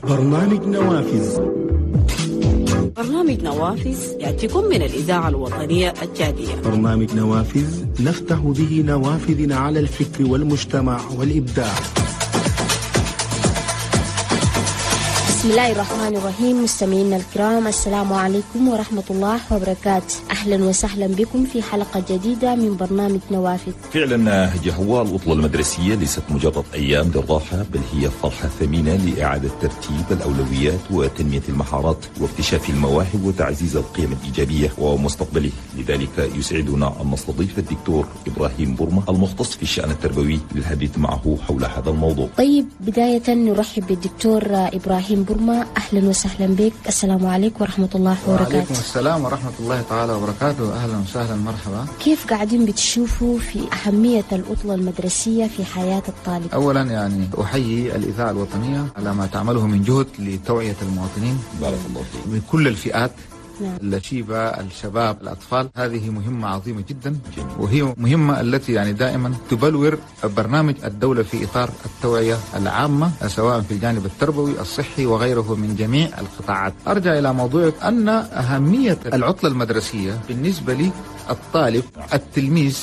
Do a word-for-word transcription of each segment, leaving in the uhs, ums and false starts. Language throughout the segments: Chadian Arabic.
برنامج نوافذ. برنامج نوافذ يأتيكم من الإذاعة الوطنية التشادية. برنامج نوافذ نفتح به نوافذنا على الفكر والمجتمع والإبداع. بسم الله الرحمن الرحيم. مستمعينا الكرام، السلام عليكم ورحمة الله وبركاته. أهلا وسهلا بكم في حلقة جديدة من برنامج نوافذ. فعلا هو العطلة المدرسية ليست مجرد أيام للراحة، بل هي فرحة ثمينة لإعادة ترتيب الأولويات وتنمية المهارات واكتشاف المواهب وتعزيز القيم الإيجابية ومستقبله. لذلك يسعدنا أن نستضيف الدكتور إبراهيم برمة المختص في الشأن التربوي للحديث معه حول هذا الموضوع. طيب، بداية نرحب بالدكتور إبراهيم برمة. أهلا وسهلا بك، السلام عليكم ورحمة الله وبركاته. وعليكم السلام ورحمة الله تعالى وبركاته، أهلا وسهلا، مرحبا. كيف قاعدين بتشوفوا في أهمية العطلة المدرسية في حياة الطالب؟ أولا يعني أحيي الإذاعة الوطنية على ما تعمله من جهد لتوعية المواطنين، بارك الله فيك، من كل الفئات، نعم. الشيبة، الشباب، الأطفال. هذه مهمة عظيمة جدا، وهي مهمة التي يعني دائما تبلور برنامج الدولة في إطار التوعية العامة، سواء في الجانب التربوي، الصحي وغيره من جميع القطاعات. أرجع إلى موضوعك، أن أهمية العطلة المدرسية بالنسبة للطالب، التلميذ،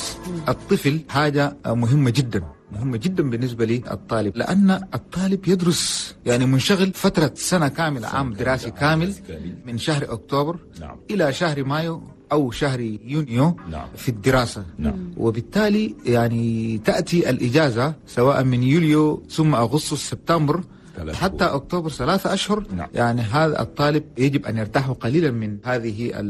الطفل، حاجة مهمة جدا، مهمة جدا بالنسبة للطالب، لأن الطالب يدرس يعني منشغل فترة سنة كاملة، عام دراسي كامل، من شهر أكتوبر نعم. إلى شهر مايو أو شهر يونيو نعم. في الدراسة نعم. وبالتالي يعني تأتي الإجازة سواء من يوليو ثم أغسطس سبتمبر حتى أكتوبر، ثلاثة أشهر نعم. يعني هذا الطالب يجب أن يرتاح قليلا من هذه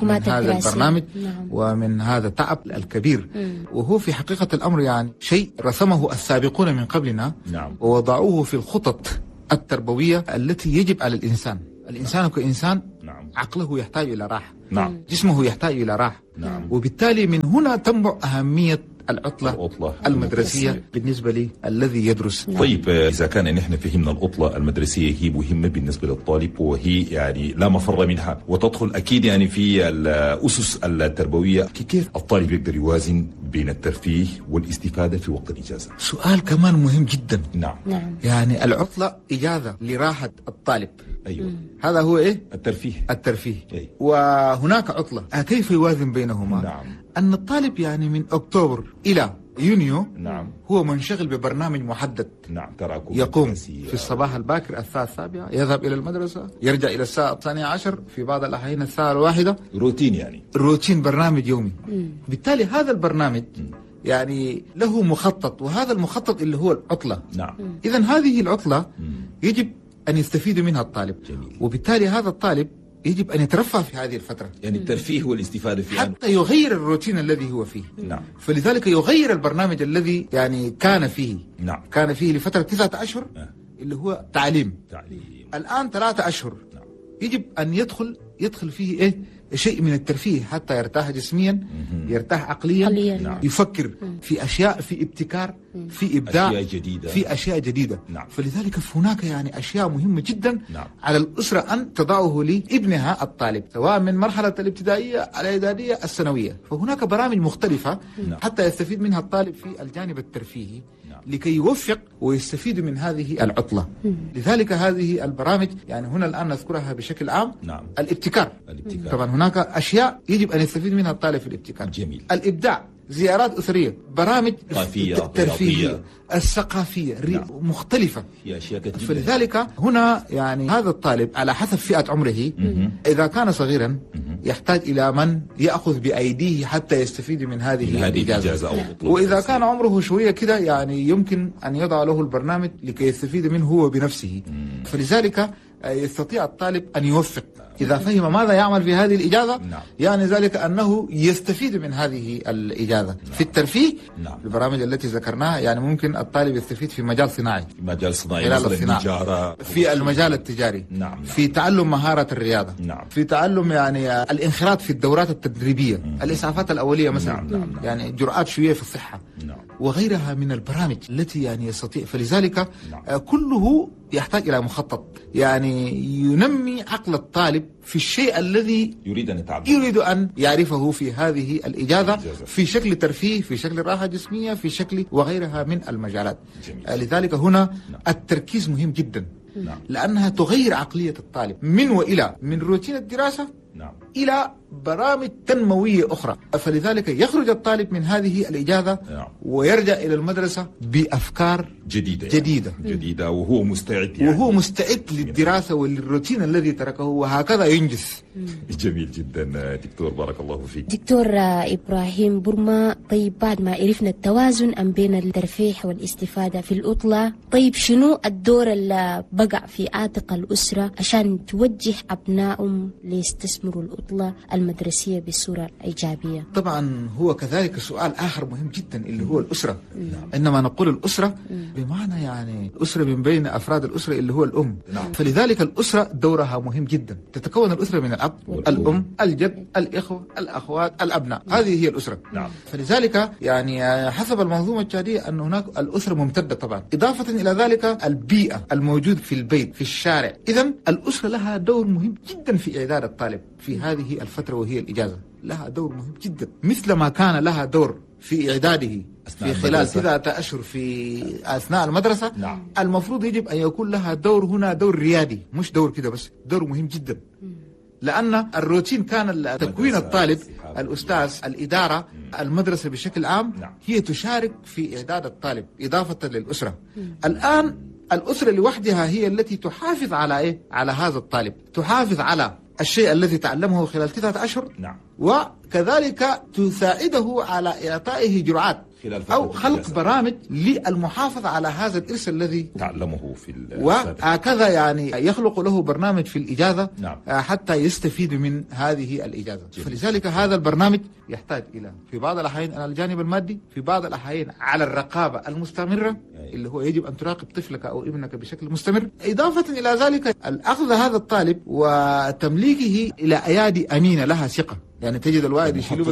من هذا البرنامج نعم. ومن هذا التعب الكبير مم. وهو في حقيقة الأمر يعني شيء رسمه السابقون من قبلنا نعم. ووضعوه في الخطط التربوية التي يجب على الإنسان. الإنسان كإنسان نعم. عقله يحتاج إلى راحة نعم. جسمه يحتاج إلى راحة نعم. وبالتالي من هنا تنبع أهمية العطلة, العطلة المدرسية بالنسبة لي الذي يدرس. طيب، إذا كان نحن فهمنا العطلة المدرسية هي مهمة بالنسبة للطالب وهي يعني لا مفر منها وتدخل أكيد يعني في الأسس التربوية، كيف الطالب يقدر يوازن بين الترفيه والاستفادة في وقت الإجازة؟ سؤال كمان مهم جدا. نعم. نعم. يعني العطلة إجازة لراحة الطالب. أيوة. مم. هذا هو إيه؟ الترفيه. الترفيه. أي. وهناك عطلة، كيف يوازن بينهما؟ نعم. أن الطالب يعني من أكتوبر إلى يونيو نعم. هو منشغل ببرنامج محدد. نعم. تراكم يقوم في الصباح الباكر الساعة السابعة، يذهب إلى المدرسة، يرجع إلى الساعة الثانية عشر، في بعض الأحيان الساعة الواحدة. روتين يعني. روتين، برنامج يومي. مم. بالتالي هذا البرنامج مم. يعني له مخطط، وهذا المخطط اللي هو العطلة. نعم. إذن هذه العطلة مم. يجب أن يستفيد منها الطالب. جميل. وبالتالي هذا الطالب يجب أن يترفه في هذه الفترة، يعني الترفيه والاستفادة فيها حتى يغير الروتين الذي هو فيه. نعم. فلذلك يغير البرنامج الذي يعني كان فيه. نعم. كان فيه لفترة تسعة أشهر أه. اللي هو تعليم. تعليم. الآن ثلاثة أشهر. نعم. يجب أن يدخل يدخل فيه إيه شيء من الترفيه حتى يرتاح جسميا، يرتاح عقليا، نعم. يفكر في أشياء، في ابتكار، في إبداع، أشياء جديدة. في أشياء جديدة. نعم. فلذلك هناك يعني أشياء مهمة جدا نعم. على الأسرة أن تضعه لابنها الطالب، سواء من مرحلة الابتدائية، الإعدادية، الثانوية. فهناك برامج مختلفة نعم. حتى يستفيد منها الطالب في الجانب الترفيهي نعم. لكي يوفق ويستفيد من هذه العطلة. لذلك هذه البرامج يعني هنا الآن نذكرها بشكل عام. نعم. الابتكار. الابتكار. طبعا هناك أشياء يجب أن يستفيد منها الطالب في الابتكار. جميل. الإبداع، زيارات أسرية، برامج ترفيهية، الثقافية، نعم. مختلفة، في أشياء كثيرة. فلذلك هنا يعني هذا الطالب على حسب فئة عمره، مم. إذا كان صغيرا مم. يحتاج إلى من يأخذ بأيديه حتى يستفيد من هذه من هذه الإجازة. الإجازة أو العطلة. وإذا كان عمره شوية كده يعني يمكن أن يضع له البرنامج لكي يستفيد منه هو بنفسه. مم. فلذلك يستطيع الطالب أن يوفق إذا فهم ماذا يعمل في هذه الإجازة. نعم. يعني ذلك أنه يستفيد من هذه الإجازة. نعم. في الترفيه. نعم. البرامج التي ذكرناها يعني ممكن الطالب يستفيد في مجال صناعي، في مجال صناعي، خلال مثلا الصناعة. النجارة، في المجال التجاري. نعم. نعم. في تعلم مهارة الرياضة. نعم. في تعلم يعني الانخراط في الدورات التدريبية. مم. الإسعافات الأولية مثلا. نعم. نعم. نعم. يعني جرعات شوية في الصحة. نعم. وغيرها من البرامج التي يعني يستطيع. فلذلك نعم. كله يحتاج إلى مخطط، يعني ينمي عقل الطالب في الشيء الذي يريد أن يتعلم، يريد أن يعرفه في هذه الإجازة، الإجازة. في شكل ترفيه، في شكل راحة جسمية، في شكل وغيرها من المجالات. جميل. لذلك هنا نعم. التركيز مهم جدا. نعم. لأنها تغير عقلية الطالب من وإلى من روتين الدراسة نعم. إلى برامج تنموية أخرى. فلذلك يخرج الطالب من هذه الإجازة نعم. ويرجع إلى المدرسة بأفكار جديدة يعني. جديدة جديدة وهو مستعد يعني. وهو مستعد للدراسة وللروتين الذي تركه، وهكذا ينجز. جميل جدا دكتور، بارك الله فيك. دكتور إبراهيم برما، طيب بعد ما عرفنا التوازن أم بين الترفيه والاستفادة في العطلة، طيب شنو الدور اللي بقع في عاتق الأسرة عشان توجه أبنائهم ليستثمروا العطلة المدرسية بصورة إيجابية؟ طبعا هو كذلك سؤال آخر مهم جدا اللي هو الأسرة. عندما نقول الأسرة بمعنى يعني الأسرة من بين أفراد الأسرة اللي هو الأم. نعم. فلذلك الأسرة دورها مهم جدا. تتكون الأسرة من الأب، الأم، الجد، الإخوة، الأخوات، الأبناء. هذه هي الأسرة. نعم. فلذلك يعني حسب المنظومة التشادية أن هناك الأسرة ممتدة طبعا. إضافة إلى ذلك البيئة الموجود في البيت، في الشارع. إذن الأسرة لها دور مهم جدا في إعداد الطالب في هذه الفترة وهي الإجازة. لها دور مهم جدا مثل ما كان لها دور في إعداده في خلال تسعة أشهر في أثناء المدرسة. نعم. المفروض يجب أن يكون لها دور هنا، دور ريادي، مش دور كده بس، دور مهم جدا. لأن الروتين كان تكوين الطالب، الأستاذ، الإدارة، المدرسة بشكل عام. نعم. هي تشارك في إعداد الطالب إضافة للأسرة. مم. الآن الأسرة لوحدها هي التي تحافظ على إيه؟ على هذا الطالب، تحافظ على الشيء الذي تعلمه خلال تسعة أشهر. نعم. وكذلك تساعده على إعطائه جرعات أو خلق برامج للمحافظة على هذا الإرث الذي تعلمه في وهكذا يعني يخلق له برنامج في الإجازة. نعم. حتى يستفيد من هذه الإجازة. جميل. فلذلك هذا البرنامج يحتاج إلى في بعض الأحيان على الجانب المادي، في بعض الأحيان على الرقابة المستمرة. أي. اللي هو يجب أن تراقب طفلك أو ابنك بشكل مستمر. إضافة إلى ذلك الأخذ هذا الطالب وتمليكه إلى أيادي أمينة لها ثقة. يعني تجد الوالد يشيله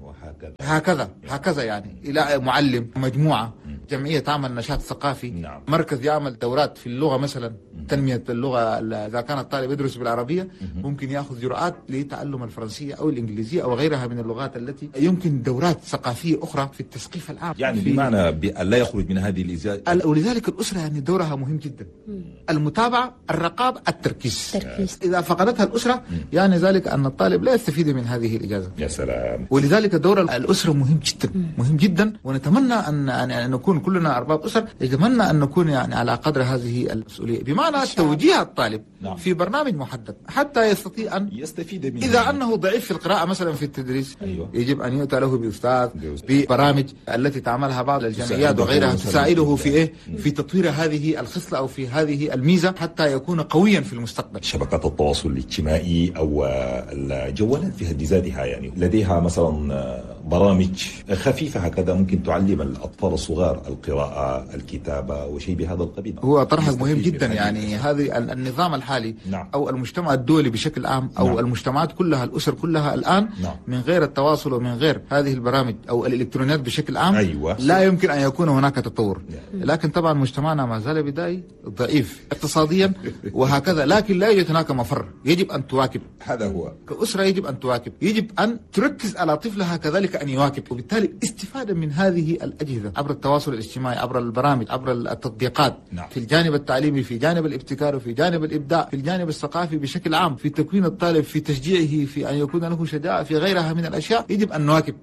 وهكذا هكذا هكذا يعني إلى معلم، مجموعة، جمعية تعمل نشاط ثقافي. نعم. مركز يعمل دورات في اللغة مثلا، تنمية اللغة. إذا كان الطالب يدرس بالعربية ممكن يأخذ جرعات لتعلم الفرنسية أو الإنجليزية أو غيرها من اللغات التي يمكن، دورات ثقافية أخرى في التثقيف العام، يعني بمعنى لا يخرج من هذه الإزاء. ولذلك الأسرة يعني دورها مهم جدا. المتابعة، الرقابة، التركيز. التركيز. إذا فقدتها الأسرة يعني ذلك أن الطالب لا يستفيد من هذه الإجازة. يا سلام. ولذلك دور الأسرة مهم جدا، مهم جدا. ونتمنى أن أن نكون كلنا أرباب أسر، نتمنى أن نكون يعني على قدر هذه المسؤولية، بمعنى توجيه الطالب. نعم. في برنامج محدد حتى يستطيع أن يستفيد منه. إذا أنه ضعيف في القراءة مثلا في التدريس. أيوة. يجب أن يؤتى له بأستاذ، ببرامج التي تعملها بعض الجمعيات وغيرها تساعده في إيه؟ في تطوير هذه الخصلة أو في هذه الميزة حتى يكون قويا في المستقبل. شبكات التواصل الاجتماعي أو الجوالات في حد ذاتها يعني لديها مثلا برامج خفيفة هكذا ممكن تعلم الأطفال الصغار القراءة، الكتابة وشيء بهذا القبيل. هو طرح مهم جدا يعني هذه النظام الحالي. نعم. أو المجتمع الدولي بشكل عام أو نعم. المجتمعات كلها، الأسر كلها الآن. نعم. من غير التواصل ومن غير هذه البرامج أو الإلكترونيات بشكل عام. أيوة. لا يمكن أن يكون هناك تطور. نعم. لكن طبعا مجتمعنا ما زال بدائي ضعيف اقتصاديا وهكذا، لكن لا يوجد هناك مفر، يجب أن تواكب. هذا هو. كأسرة يجب أن تواكب، يجب أن تركز على طفلها كذلك أن يواكب، وبالتالي استفادة من هذه الأجهزة عبر التواصل الاجتماعي، عبر البرامج، عبر التطبيقات. نعم. في الجانب التعليمي، في جانب الابتكار، وفي جانب الإبداع، في الجانب الثقافي بشكل عام، في تكوين الطالب، في تشجيعه، في أن يكون له شجاعة، في غيرها من الأشياء يجب أن نواكب.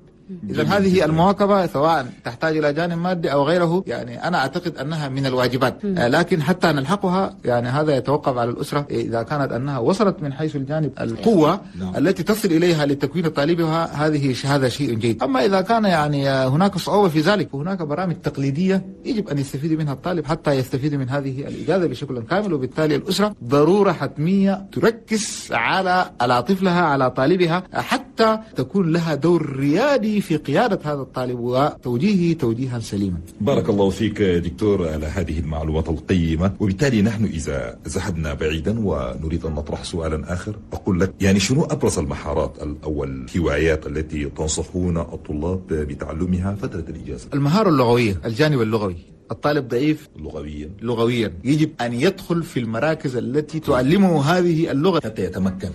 إذا هذه المواكبة سواء تحتاج إلى جانب مادي أو غيره، يعني أنا أعتقد أنها من الواجبات، لكن حتى نلحقها يعني هذا يتوقف على الأسرة إذا كانت أنها وصلت من حيث الجانب القوة نعم. التي تصل إليها لتكوين طالبها، هذه هذا شيء جيد. أما إذا كان يعني هناك صعوبة في ذلك، فهناك برامج تقليدية يجب أن يستفيد منها الطالب حتى يستفيد من هذه الإجازة بشكل كامل. وبالتالي الأسرة ضرورة حتمية تركز على على طفلها، على طالبها، حتى تكون لها دور ريادي في قيادة هذا الطالب وتوجيهه توجيها سليما. بارك الله فيك دكتور على هذه المعلومات القيمة. وبالتالي نحن إذا ذهبنا بعيدا ونريد أن نطرح سؤالا آخر، أقول لك يعني شنو أبرز المهارات أو الهوايات التي تنصحون الطلاب بتعلمها فترة الإجازة؟ المهارة اللغوية، الجانب اللغوي. الطالب ضعيف لغويا لغويا يجب أن يدخل في المراكز التي تعلمه هذه اللغة حتى يتمكن.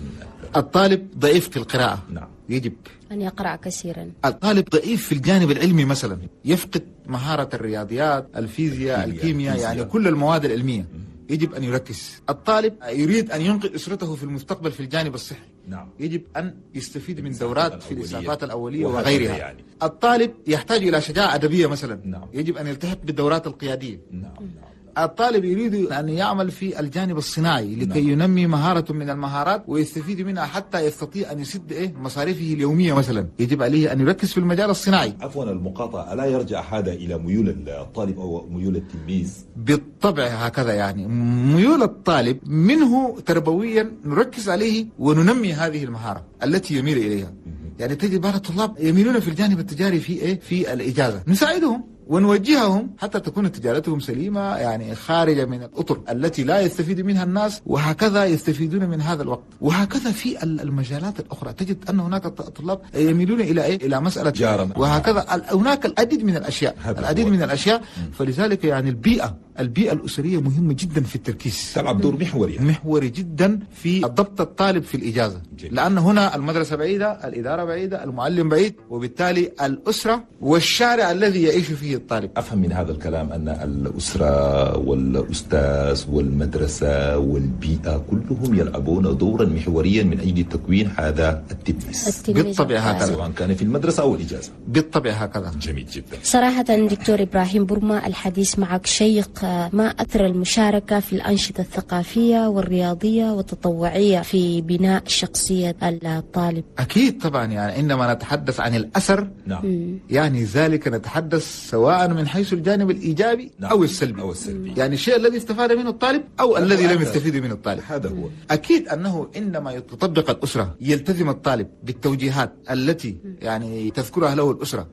الطالب ضعيف في القراءة، نعم، يجب أن يقرأ كثيرا. الطالب ضعيف في الجانب العلمي مثلا، يفقد مهارة الرياضيات، الفيزياء، الكيمياء، يعني كل المواد العلمية. يجب أن يركز. الطالب يريد أن ينقذ أسرته في المستقبل في الجانب الصحي، نعم. يجب أن يستفيد من دورات في الإسعافات الأولية وهكذا وغيرها. يعني. الطالب يحتاج إلى شجاعة أدبية مثلا، نعم. يجب أن يلتحق بالدورات القيادية. نعم. نعم. الطالب يريد أن يعمل في الجانب الصناعي لكي نعم. ينمي مهارة من المهارات ويستفيد منها حتى يستطيع أن يسد إيه مصاريفه اليومية مثلا، يجب عليه أن يركز في المجال الصناعي. عفوا المقاطعة، ألا يرجع هذا إلى ميول الطالب أو ميول التلميذ؟ بالطبع هكذا، يعني ميول الطالب منه تربويا نركز عليه وننمي هذه المهارة التي يميل إليها. يعني تجد بعض الطلاب يميلون في الجانب التجاري في إيه في الإجازة، نساعدهم ونوجههم حتى تكون تجارتهم سليمة، يعني خارجة من الأطر التي لا يستفيد منها الناس، وهكذا يستفيدون من هذا الوقت. وهكذا في المجالات الأخرى تجد أن هناك طلاب يميلون إلى إيه؟ إلى مسألة جارة، وهكذا هناك العديد من الأشياء، العديد من الأشياء. فلذلك يعني البيئة البيئة الأسرية مهمة جدا في التركيز، تلعب دور محوري محوري جدا في ضبط الطالب في الإجازة. جميل. لأن هنا المدرسة بعيدة، الإدارة بعيدة، المعلم بعيد، وبالتالي الأسرة والشارع الذي يعيش فيه الطالب. أفهم من هذا الكلام أن الأسرة والأستاذ والمدرسة والبيئة كلهم يلعبون دورا محوريا من أجل تكوين هذا التلميذ. بالطبع هكذا، سواء كان في المدرسة أو الإجازة. بالطبع هكذا. جميل جدا. صراحة دكتور إبراهيم برما، الحديث معك شيق. ما أثر المشاركة في الأنشطة الثقافية والرياضية والتطوعية في بناء شخصية الطالب؟ أكيد طبعا، يعني عندما نتحدث عن الأثر، نعم. يعني ذلك نتحدث سواء من حيث الجانب الإيجابي، نعم. أو السلبي. أو السلبي، يعني الشيء الذي استفاد منه الطالب أو الذي لم يستفيد منه الطالب. هذا هو. أكيد أنه عندما تطبق الأسرة يلتزم الطالب بالتوجيهات التي يعني تذكرها له الأسرة،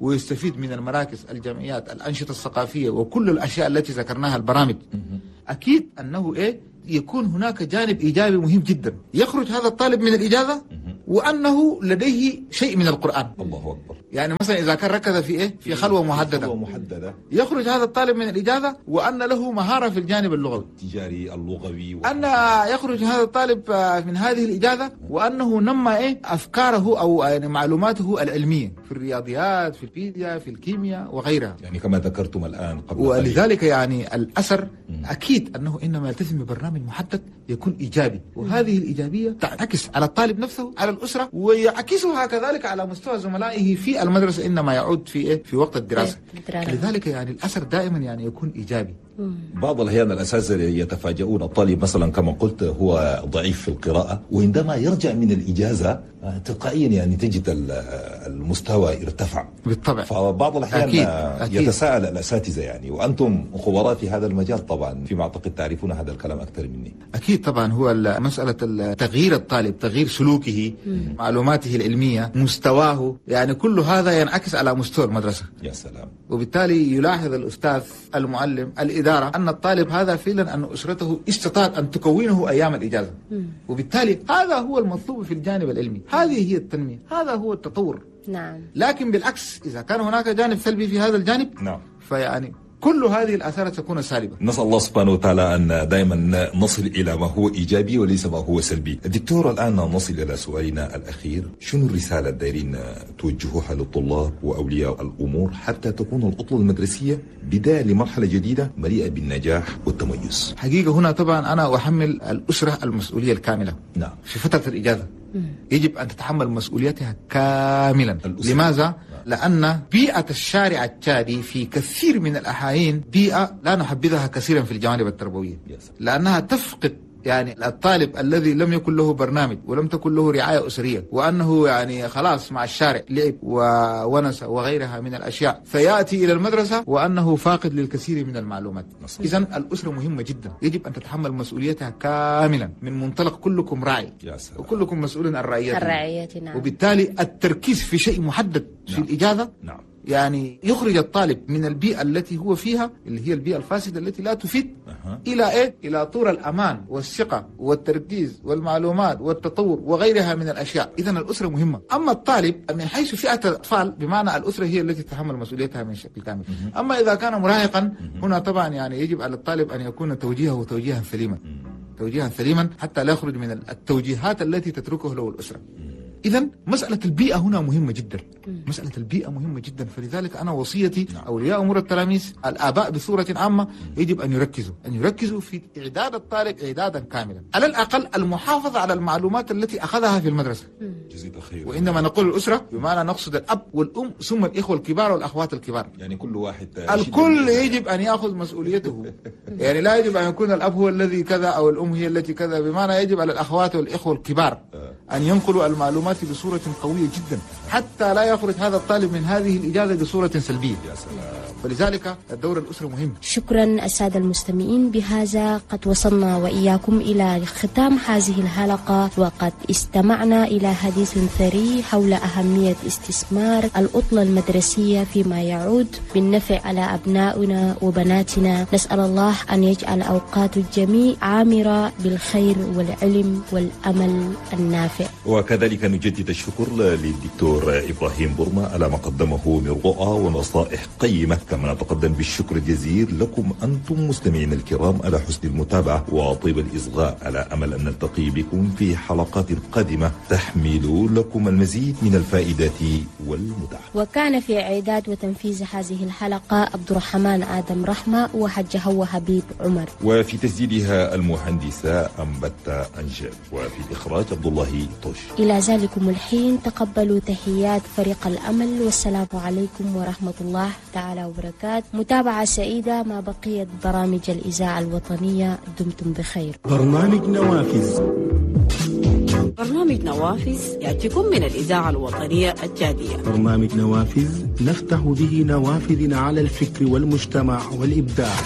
ويستفيد من المراكز، الجمعيات، الأنشطة الثقافية وكل الأشياء التي ذكرناها، البرامج. أكيد أنه إيه يكون هناك جانب إيجابي مهم جدا، يخرج هذا الطالب من الإجازة وأنه لديه شيء من القرآن. الله أكبر. يعني مثلا إذا كان ركز في إيه في خلوة محددة، خلوة محددة، يخرج هذا الطالب من الإجازة وأن له مهارة في الجانب اللغوي التجاري اللغوي، و... أن يخرج هذا الطالب من هذه الإجازة وأنه نمى إيه أفكاره أو يعني معلوماته العلمية في الرياضيات، في الفيزياء، في الكيمياء وغيرها. يعني كما ذكرتم الآن قبل. ولذلك يعني الأثر أكيد أنه إنما يلتزم ببرنامج محدد يكون إيجابي، وهذه الإيجابية تعكس على الطالب نفسه، على الأسرة، ويعكسها كذلك على مستوى زملائه في المدرسة إنما يعود في إيه في وقت الدراسة. لذلك يعني الأثر دائما يعني يكون إيجابي. بعض الأحيان الأساتذة يتفاجؤون، الطالب مثلا كما قلت هو ضعيف في القراءة، وعندما يرجع من الإجازة تلقائيا يعني تجد المستوى ارتفع. بالطبع. فبعض الأحيان أكيد. أكيد. يتساءل الأساتذة يعني، وأنتم خبراء في هذا المجال طبعا، فيما أعتقد تعرفون هذا الكلام أكثر مني. أكيد طبعا، هو مسألة تغيير الطالب، تغيير سلوكه، مم. معلوماته العلمية، مستواه، يعني كل هذا ينعكس على مستوى المدرسة. يا سلام. وبالتالي يلاحظ الأستاذ، المعلم، الإدارة أن الطالب هذا فعلا أن أسرته استطاعت أن تكونه أيام الإجازة. مم. وبالتالي هذا هو المطلوب في الجانب العلمي، هذه هي التنمية، هذا هو التطور. نعم. لكن بالعكس إذا كان هناك جانب سلبي في هذا الجانب، نعم. فيعني كل هذه الآثار تكون سالبة. نسأل الله سبحانه وتعالى أن دائما نصل إلى ما هو إيجابي وليس ما هو سلبي. دكتور، الآن نصل إلى سؤالنا الأخير، شنو الرسالة الدايرين توجهوها للطلاب وأولياء الأمور حتى تكون العطلة المدرسية بداية لمرحلة جديدة مليئة بالنجاح والتميز؟ حقيقة هنا طبعا أنا أحمل الأسرة المسؤولية الكاملة. نعم. في فترة الإجازة يجب أن تتحمل مسؤوليتها كاملا. الأسرة. لماذا؟ لأن بيئة الشارع التشادي في كثير من الأحايين بيئة لا نحبذها كثيرا في الجوانب التربوية، لأنها تفقد يعني الطالب الذي لم يكن له برنامج ولم تكن له رعاية أسرية، وأنه يعني خلاص مع الشارع لعب وونس وغيرها من الأشياء، فيأتي إلى المدرسة وأنه فاقد للكثير من المعلومات. إذن الأسرة مهمة جدا، يجب أن تتحمل مسؤوليتها كاملا من منطلق كلكم راعي وكلكم مسؤول عن رعيته. نعم. وبالتالي التركيز في شيء محدد في نعم. الإجازة، نعم. يعني يخرج الطالب من البيئة التي هو فيها، اللي هي البيئة الفاسدة التي لا تفيد، أه. إلى إيه؟ إلى طور الأمان والثقة والتركيز والمعلومات والتطور وغيرها من الأشياء. إذن الأسرة مهمة. أما الطالب من حيث فئة الأطفال، بمعنى الأسرة هي التي تتحمل مسؤوليتها من شكل كامل. أه. أما إذا كان مراهقا، هنا طبعا يعني يجب على الطالب أن يكون توجيهه توجيها سليما، توجيها سليما حتى لا يخرج من التوجيهات التي تتركه له الأسرة. إذا مسألة البيئة هنا مهمة جدا، مسألة البيئة مهمة جدا. فلذلك أنا وصيتي نعم. أولياء أمور التلاميذ، الآباء بصورة عامة، يجب أن يركزوا أن يركزوا في إعداد الطالب إعدادا كاملا، على الأقل المحافظة على المعلومات التي أخذها في المدرسة. جزيت الخير. وعندما نقول الأسرة بمعنى نقصد الأب والأم ثم الإخوة الكبار والأخوات الكبار، يعني كل واحد الكل يجب أن يأخذ مسؤوليته. يعني لا يجب أن يكون الأب هو الذي كذا أو الأم هي التي كذا، بمعنى يجب على الأخوات والإخوة الكبار أن ينقلوا المعلومات بصورة قوية جدا حتى لا يخرج هذا الطالب من هذه الإجازة بصورة سلبية. يا سلام. فلذلك الدور الأسري مهم. شكرا السادة المستمعين، بهذا قد وصلنا وإياكم إلى ختام هذه الحلقة، وقد استمعنا إلى حديث ثري حول أهمية استثمار العطلة المدرسية فيما يعود بالنفع على أبنائنا وبناتنا. نسأل الله أن يجعل أوقات الجميع عامرة بالخير والعلم والأمل النافع. وكذلك نجدد الشكر للدكتور إبراهيم برما على ما قدمه من رؤى ونصائح قيمة، كما نتقدم بالشكر الجزيل لكم أنتم مستمعين الكرام على حسن المتابعة وطيب الإصغاء، على أمل أن نلتقي بكم في حلقات قادمة تحمل لكم المزيد من الفائدة والمتعة. وكان في إعداد وتنفيذ هذه الحلقة عبد الرحمن آدم رحمة وحج هو حبيب عمر، وفي تسجيلها المهندسة أمبتا أنجل، وفي الإخراج عبد الله طوش. إلى ذلكم الحين تقبلوا تحيات فريق الأمل، والسلام عليكم ورحمة الله تعالى وبركاته. متابعة سعيدة مع بقية برامج الإذاعة الوطنية، دمتم بخير. برنامج نوافذ. برنامج نوافذ يأتيكم من الإذاعة الوطنية التشادية. برنامج نوافذ نفتح به نوافذنا على الفكر والمجتمع والإبداع.